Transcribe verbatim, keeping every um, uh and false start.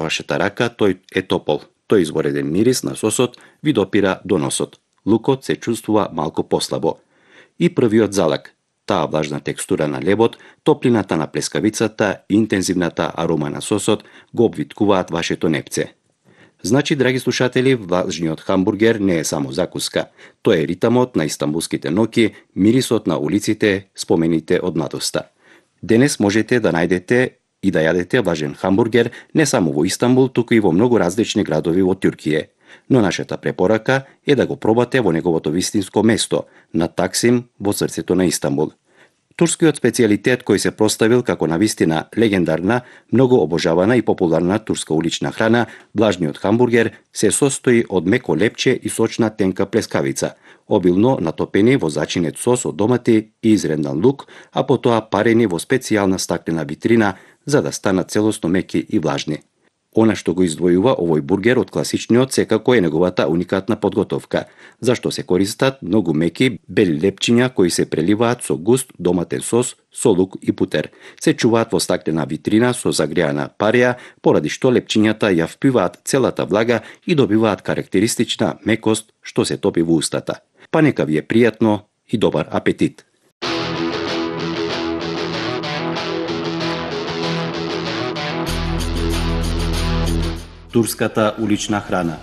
вашата рака, тој е топол. Тој извореден мирис на сосот ви допира до носот. Лукот се чувствува малку послабо. И првиот залак, таа влажна текстура на лебот, топлината на плескавицата и интензивната арома на сосот го обвиткуваат вашето непце. Значи, драги слушатели, влажниот хамбургер не е само закуска. Тој е ритамот на истанбулските ноќи, мирисот на улиците, спомените од младоста. Денес можете да најдете и да јадете влажен хамбургер не само во Истанбул, туку и во многу различни градови во Туркија. Но нашата препорака е да го пробате во неговото вистинско место, на Таксим, во срцето на Истанбул. Турскиот специјалитет кој се проставил како навистина легендарна, многу обожавана и популарна турска улична храна, влажниот хамбургер се состои од меко лепче и сочна тенка плескавица, обилно натопени во зачинет сос од домати и изрендан лук, а потоа парени во специјална стаклена витрина за да станат целосно меки и влажни. Она што го издвојува овој бургер од класичниот секако е неговата уникатна подготовка, зашто се користат многу меки бели лепчиња кои се преливаат со густ доматен сос, со лук и путер. Се чуваат во стаклена витрина со загреана парија, поради што лепчињата ја впиваат целата влага и добиваат карактеристична мекост што се топи во устата. Па нека ви е пријатно и добар апетит! Турската улична храна.